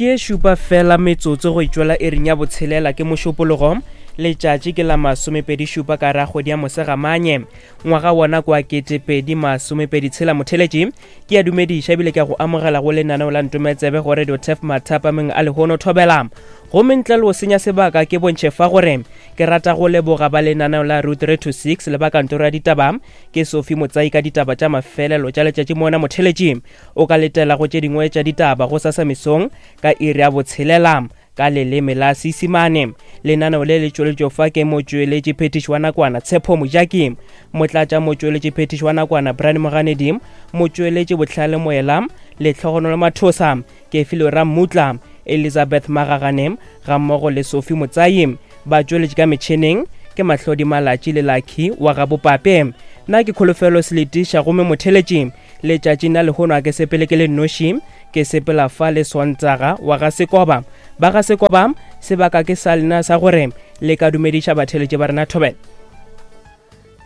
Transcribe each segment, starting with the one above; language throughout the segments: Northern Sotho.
Ke ye šupa fela metsotso go itšwela iring ya botshelela ke Mošupologo, letšatši ke la masomepedi šupa ka ra kgwedi ya Mosegamanye, ngwaga wona kwa 2026. Motheletši, ke a dumediša ebile ke a go amogela go lenaneo la Ntometsebe go Radio Tef mathapameng a lehono thobela. Gomme ntle le go senya sebaka ke bontšhe fa gore ke rata go leboga ba lenaneo la Route 3 to 6 le ba kantoro ya ditaba ke Sophie Motsai ka ditaba tša mafelelo tša letšatši mona motheletši. O ka letela go tše dingwe tša ditaba gosasa mesong ka iri ya botshelela ka leleme la Seisemane. Lenaneo le le tšweletšo fa ke motšweletši phethiši wa nakwana Tshepo Mojaki, motlatša motšweletši phethiši wa nakwana Brian Moganedi, motšweletši Bohlale Moela, Lehlogonolo Mathosa, Kefilwe Rammutla, Elizabeth Magagane gammogo le Sophie Motsai. Batšweletši ka metšheneng ke Mahlodi Malatši le Lucky wa ga Bopape. Nna ke Kholofelo Seletiša gomme motheletši Letšatšing la lehono a ke sepele ke le nnoši, ke sepela fa le Sontaga wa ga Sekoba. Ba ga Sekoba, sebaka ke sa lena sa gore le ka dumediša batheeletši ba rena thobela.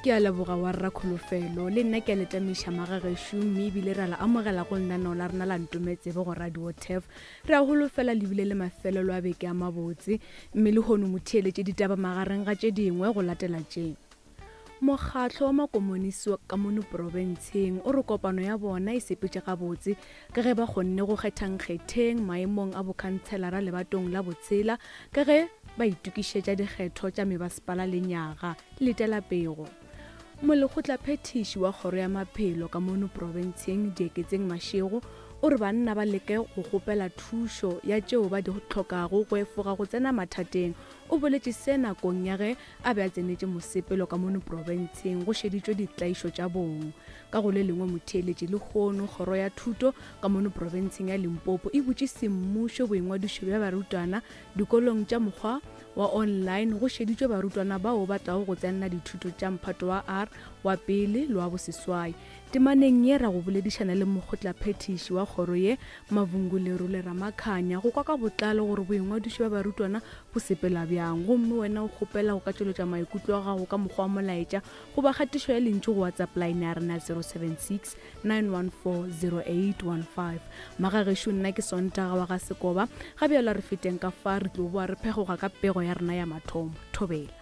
Ke a leboga wa rra Kholofelo. Le nna ke a le tamiša magagešo mme ebile ra le amogela go lenaneo la rena la Ntometsebe go Radio Turf. Re a holofela le bile le mafelelo a beke a mabotse. Mme lehono motheeletše ditaba magareng ga tše dingwe go latela tše. Mokgatlo wa Makomonisi wa ka mono profenseng o re kopano ya bona e sepetše gabotse ka ge ba kgonne go kgetha Nkgetheng maemong a bokhantshelara lebatong la botshela ka ge ba itokišetša dikgetho tša mebasepala lenyaga. Letela pego. Molekgotlaphethiši wa kgoro ya maphelo ka mono profenseng Dieketseng Mashego o re banna ba leke go kgopela thušo ya tšeo ba di hlokago go efoga go tsena mathateng. O boletše se nakong ya ge a be a tsenetše mosepelo ka mono profenseng go šeditšwe ditlaišo tša bong. Ka go le lengwe motheeletši lehono kgoro ya thuto ka mono profenseng ya Limpopo e butše semmušo boingwadišo bja barutwana dikolong tša mokgwa wa online go šeditšwe barutwana bao ba tlago go tsenela dithuto tša mphato wa R wa pele le wa boseswai. Temaneng ye ra go boledišana le mokgotlaphethiši wa kgoro ye, Mavhungu Lerole Ramakhanya, go kwa ka botlalo gore boingwadišo bja barutwana bo sepela bjang. Gomme wena o kgopela go ka tšweletša maikutlo a gago ka mokgwa wa molaetša goba kgatišo ya lentšu go WhatsApp line ya rena 076 914 0815. Magagešo nna ke Sontaga wa ga Sekoba, ga bjalo a re feteng ka fa re tlo boa re phegoga ka pego ya rena ya mathomo. Thobela.